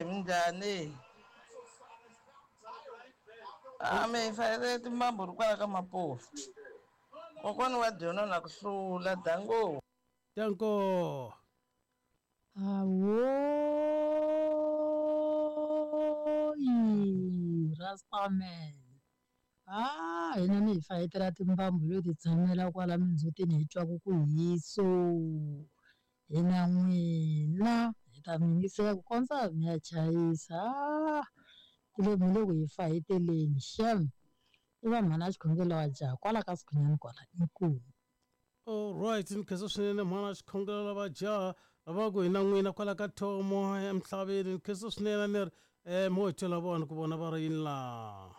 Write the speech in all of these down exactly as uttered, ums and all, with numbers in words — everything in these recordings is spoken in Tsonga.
Minjhani? A mi hi fayetela timbambu ri kwala ka Mapofu. Kokwani wa dyona na ku hlula dango. Danko. Ahoyi Rastaman. Ah, hina mi hi fayetela timbambu yo ti tshamela kwala mindzhutini hi twaku ku hiso. Hina n'wina hi ta mi yingisela ku kondza mi ya chayisa. Ah, ti le mi le ku hi fayeteleni xem. I va mhana xikhongelo wa jaha kwala ka Sikhunyani kwala inkomu. Alright, ni khensa swinene mhana xikhongelo lava jaha lava ku hina n'wina kwala ka thomo emisaveni ni khensa swinene ni ri um mo hi twela vona ku vona va ri yini laha.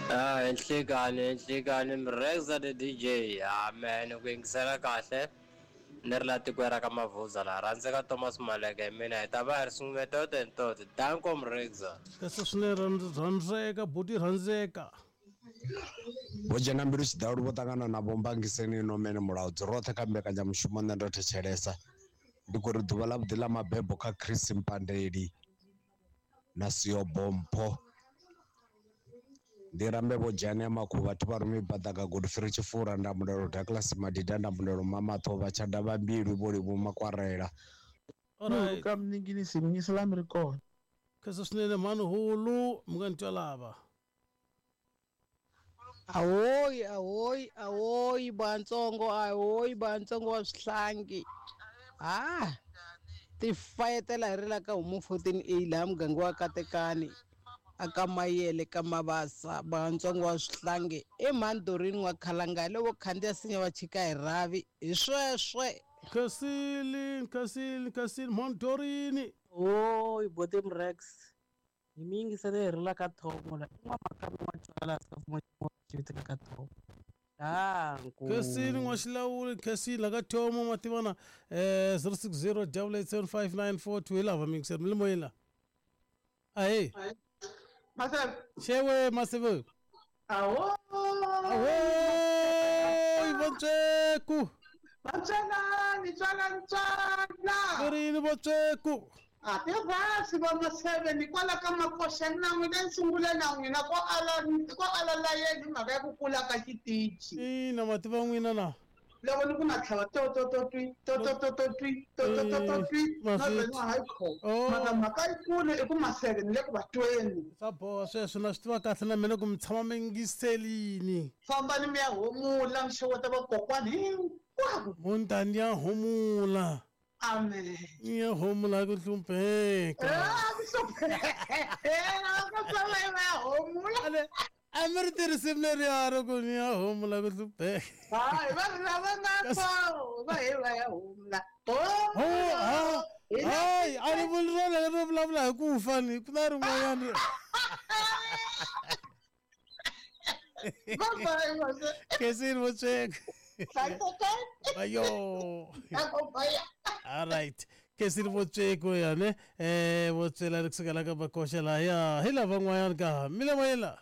Ah, enhlekani enhlekani Mrexa the D J. Amen ku yingisela kahle ni ri la tikweni ra ka Mavuza laha rhandzeka Thomas Maleke hi mina hi ta va hi ri swin'we toto hi toto danko Mrexa. Khensa swinene rhandzeka buti rhandzeka. Vho dzhena mbilu tshiḓalu vho ṱangana na vho Mbangiseni Nomene Mulaudzi roṱhe kha mbekanyamushumo nṋe ndo thetshelesa ndi khou ri ḓuvha ḽa vhuḓi ḽa mabebo kha Chris Mpandeli na Siyobompho ndi rambe vho Dzhane ya Makhuvha thi vha rumi Baḓaka Godfrey Tshifura Ndamulelo Douglas Madida Ndamulelo Mamatho vha Tshada vha Mbilwi vho Livhu Makwarela. Alright. Ka mninginisi mi ri kona. Khensa swinene mhani hulu mi nga ni twa lava. Ahoyi ahoyi ahoyi bantsongo ahoyi bantsongo wa swihlangi. Ah, ti fayetela hi ri la ka homu fourteen A laha muganga wa Katekani aka Mayele ka Mabasa bantsongo wa swihlangi i mhani Dorini wa Khalanga hi lovo khandziya sinya va chika hi rhavi hi sweswe. Khensile khensile khensile mhani Dorini. Oi boti Mrex hi mi yingisele hi ri la ka thomo la i n'wamakami wa twala ka mfumo xi vitaka ka thomo danko. Khensile n'waxilawuli khensile la ka thomo ma tivana eh zero six zero double eight seven five nine four two hi lava mi yingisela mi le moyeni la. Ahee. Maseve. Xewe Maseve. Ahoyi. Ahoyi Votsweku. Vatswelani tswalani tswala. Ku ri yini Votsweku? A ti rhasi va Maseve ni kwala ka Makoxa na n'wina ni sungule na n'wina ko ala ko ala layeni hi mhaka ya ku kula ka xitichi. Ina ma tiva n'wina na. Loko ni ku na tlhava to to to twi to to to to twi to to to to twi na vhela hayi kho mara mhaka yikulu i ku Maseve ni le ku va tweni. Swa boha sweswo na swi tiva kahle na mina ku mi tshama mi yingiselini. Fambani mi ya humula mi xeweta vakokwani hinkwavo. Muntani ya humula. Amen. Ya humula ku hlupheka. Ah, ku hlupheka. Ku hlupheka ya humula. A mi ri tirhisi leriya ro ku ni ya humula ku hlupheka. Hayi va ri lava nga ko va hi va ya humula. Oh, hayi a ni vuli rona leri vulavula hi ku fa ni ku na rin'wanyana. Bye bye. Khensile Votsweku. Ayo. All right. Khensile Votsweku ya ne eh Votswela ri kusukela ka Makoxa lahaya hi lava n'wanyana ka mi le moyeni la.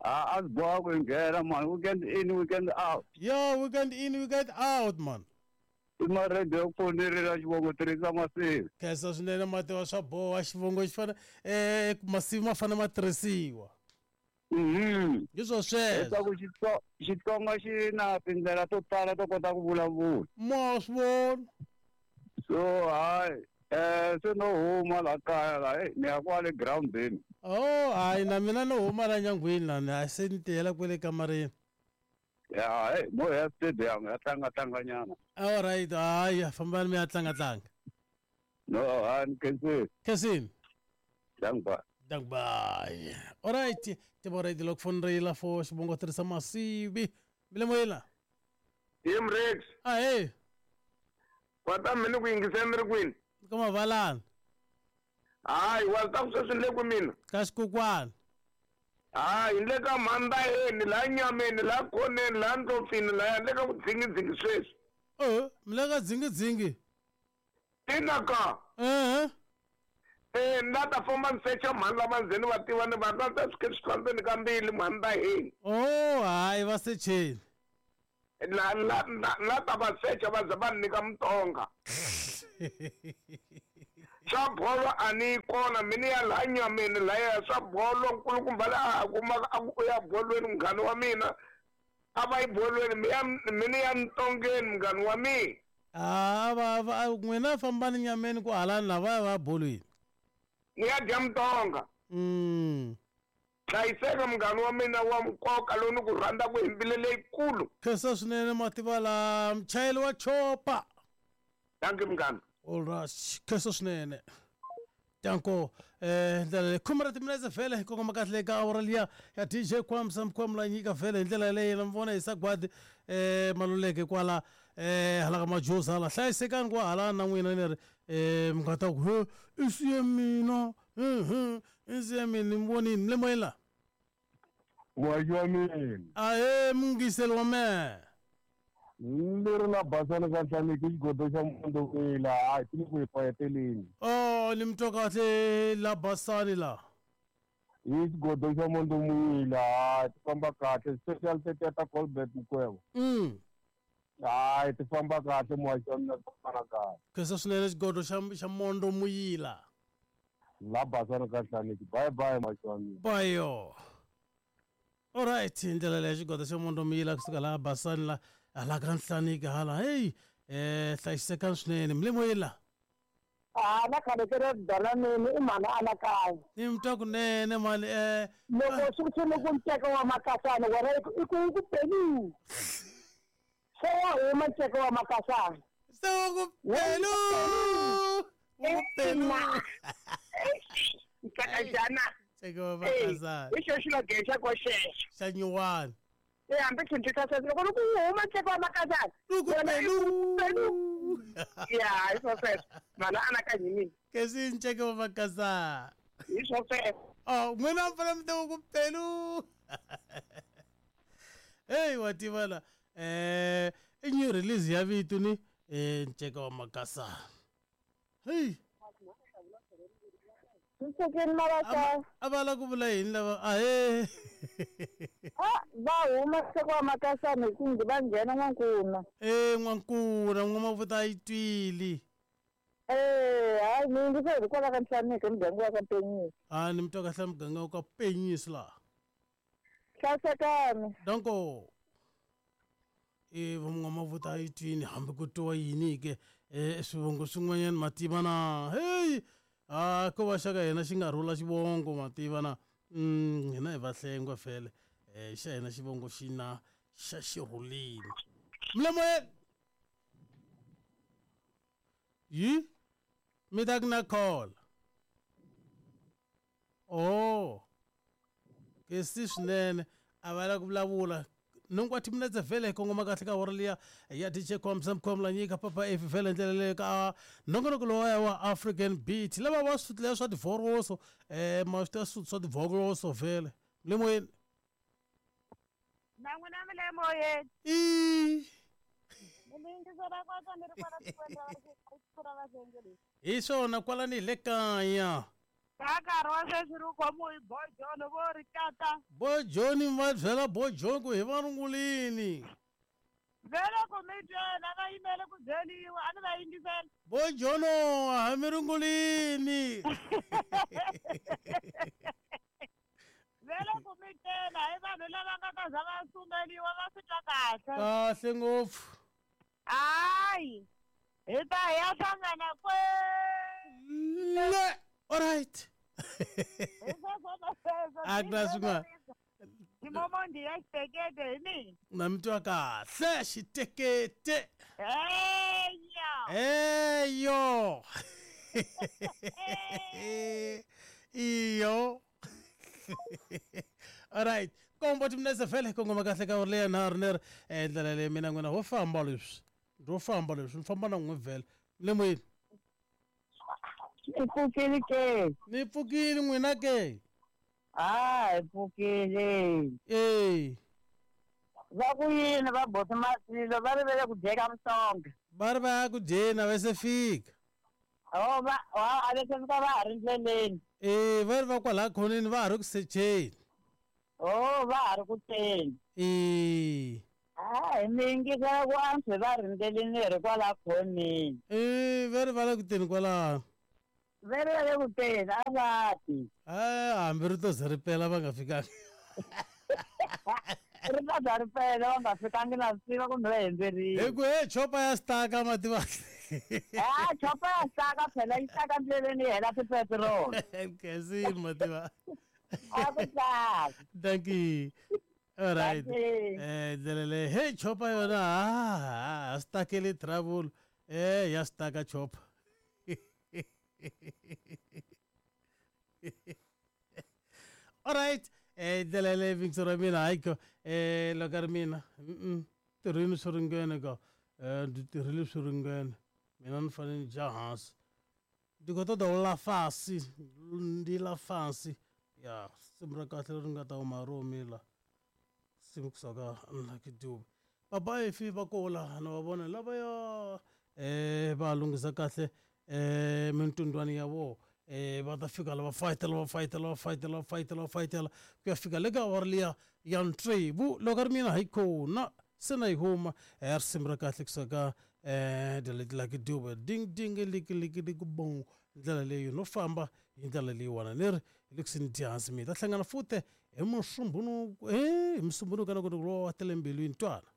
Ah, a swi boha ku nghena man weekend in weekend out. Yo, weekend in weekend out man. I maredi ya ku fonelera xivongo tirhisa masivi. Khensa swinene mati wa swa boha xivongo xi fana eh masivi ma fane ma tirhisiwa. Mhm. Hi swo sweswo. Leswaku Xitsonga xi na tindlela to tala to kota ku vulavula. Ma swi vona. So hayi eh se no huma la kaya la eh ni ya kwale groundini. Oh, hayi na mina no huma la nyangweni la ni a se ni tiyela kwele kamareni. Ya eh mo ya stadium ya tlanga tlanga nyana. All right, hayi fambani mi ya tlanga tlanga. No, hayi ni khensile. Khensile. Dank Dank bye. All right, tibora di lok fonrela fo xivongo tirhisa masivi. Mi le moyeni la. Yim Rex. Ahee. Kwata mi ni ku yingisela mi ri kwini? Ka Mavalani. Hayi wa ta ku sweswi ni le ku mina. Ka xikukwana. Hayi ni le ka Mhandayeni laha Nyameni laha Khoneni laha Ndlopfini laha ni le ka ku dzingidzingi sweswi. Eh, mi le ka dzingidzingi? Ina ka. Eh. Eh, ni la ta famba ni secha mhani lava ndzeni va tiva ni va ta ta swi swi ndzeni ka mbili Mhandayeni. Oh, hayi va secheni. La la la ta va secha va za va ni nyika mutonga. Swa bolo a ni yi kona mi ni ya laha nyameni laya swa bolo nkulukumba laha a kumaka a ku u ya bolweni munghana wa mina a va yi bolweni mi ya mi ni ya ntongeni munghana wa mina. A va va n'wina fambani nyameni ku halani lava va bolweni. Ni ya dya mutonga. Mm. Hlayiseka munghana wa mina wa nkoka lowu ni ku rhandzaka hi mbilu leyikulu. Khensa swinene mativa la muchayeri wa chopa. Thank you munghana. All right, khensa swinene. Danko eh ndlela leyi khume ra timinetse vhele hi kongoma kahle eka awara liya ya D J Kwamsa Mkhwamula nyika vhele hi ndlela leyi na mi vona hi sagwadi eh Maluleke kwala eh hala ka Majozi hala hlayisekani ku hala na n'wina ni ri eh mi nga ta ku he i siye mina mhm i siye mina ni mi vonini mi le moyeni la. Muhaxi wa mina. Ahee muyingiseri wa mehe. Ni ri na basani ka Nhlaniki xigodo xa Mondowila hayi ti le ku hi fayeteleni. Oh ni mi twa kahle la basani la. Hi xigodo xa Mondowila hayi ti famba kahle special tetiya ta Colbert Mukwevho. Mm. Hayi ti famba kahle muhaxi wa mina ti famba kahle. Khensa swinene xigodo xa xa Mondo Muyila. La basani ka Nhlaniki bye bye muhaxi wa mina. Bayo. All right ndlela leyi xigodo xa Mondo Muyila kusuka laha basani la hala ka Nhlaniki hala hey eh hlayisekani swinene mi le moyeni la. A na khale ke ri dalaneni i mhani anakanya. Ni mi twa kunene mani eh loko swi swi ku nceka wa makasana wena i ku i ku ku pelu. Se wa huma nceka wa makasana. Se wa ku pelu. Ku pelu. Nceka jana. Nceka wa makasana. Hi xo xilo gexa ko xexo. Xa nyuwani. E hambi tshintshisa sweswo loko ku huma nceka wa makasana. Ku pelu. Pelu. Ya hi swo sweswo mhani anakanya hi mina. Kesi nceka wa makasana. Hi swo sweswo. Oh n'wina mi fanele mi tiva ku pelu. Hey wa tiva la eh i new release ya vito ni eh nceka wa makasana. Hey. Mpfukeni mavasa. A va la ku vula yini lava ahee. Ah va huma nceka wa makasana hi ku va nghena N'wankuna. Eh N'wankuna N'wamavuta a yi twile. Eh hayi ni yingisela hikwalaho ka Nhlaniki muganga wa ka Penyisi. Ah ni mi twa kahle muganga wa ka Penyisi laha. Hlayisekani. Danko. Eh va N'wamavuta a yi twini hambi ku twiwa yini ke eh swivongo swin'wanyana mativa na hey. Ah ko va xa ka hina xi nga rhula xivongo mativa na mm hina hi Vahlengwe vhele eh xa hina xivongo xi na xa xirhulini. Mi le moyeni. Yi mi ta ku na call. Oh kesi swinene a va la ku vulavula nhungu wa timinetse vhele hi kongoma kahle ka awara liya ya D J Kwamsa Mkhwamula nyika papa F vhele ndlela leyo ka nongonoko lowaya wa African Beat lava va swi swa tivhoroso eh ma swi tiva swa tivhoroso vhele mi le moyeni. Na n'wina mi le moyeni. I Mi yingisela kwata ni ri kwala tikweni ra ra Vahlengwe. Hi swona kwalani hi le kaya. Ka nkarhi wa sweswi ri khomiwe hi Boy John vo ri tata. Boy John va byela Boy John ku hi va rungulini. Vele ku mi byela va yimele ku byeliwa a ni va yingisela. Boy John a mi rungulini. Vele ku mi byela hi vanhu lava nga ta za va sumeliwa va swi twa kahle. Kahle ngopfu. Hayi hi ta hi ya hlangana kwele. All right. A ku na swin'wana. Ximomondi ya xitekete hi mina. Na mi twa kahle xitekete. Eya. Eyo. Iyo. All right. Kombo timinetse vhele kongoma kahle ka leya nharhu leri ndlela leyi mina n'wina ho famba leswi. Ro famba leswi ni famba na n'we vhele. Mi le moyeni. Ni pfukile ke. Ni pfukile n'wina ke. Ah hi pfukile. Eh. Va ku yini va boti Masilo va rivele ku dyeka mutonga. Va ri va ya ku dyeni a va se fika. Oh va a va se fika va ha ri ndleleni. Eh va ri va kwalaya khoneni va ha ri ku secheni. Oh va ha ri ku teni. Eh. Hayi mi yingisela ku antswa va ri ndleleni hi ri kwala khoneni. Eh va ri va le ku teni kwalano. Vele va le ku teni a va ti. Eh hambi ri to ze ri pela va nga fikangi. Ri ta za ri pela va nga fikangi na swi tiva kumbe va hemberile. Hi ku he chopa ya staka mativa. Ah, chopa ya staka phela yi staka ndleleni yi hela tipetiroli. Khensini mativa. A ku tlanga. Thank you. All right. Thank you. Eh ndlela leyi hey chopa yona ha ha stakele trouble. Eh ya staka chopa. All right. Eh ndlela leyi vingisi ra mina hayi ko eh loko ri mina mm tirhini swi ringene ka eh ndzi tirhile swi ringene mina ni fanele ni dya hansi ndi khou ṱoḓa u ḽa fasi ndi ḽa fasi ya simu ra kahle leri nga ta huma ro mila simu kusuka Lucky Dube baba efi va kola na va vona lavaya eh va lunghisa kahle eh mintundwani ya vona eh va ta fika lava fayitela va fayitela va fayitela va fayitela va fayitela ku ya fika le ka awara liya ya ntsevu loko ri mina hi kona se na yi huma eh risimu ra kahle kusuka eh the Lucky Dube ding ding liki liki liki bong ndlela leyi no famba hi ndlela leyiwani ni ri hi le kusini dya hansi mi ta hlangana futhi hi musumbunuko eh hi musumbunuko na ku ri wa tele mbilwini twana.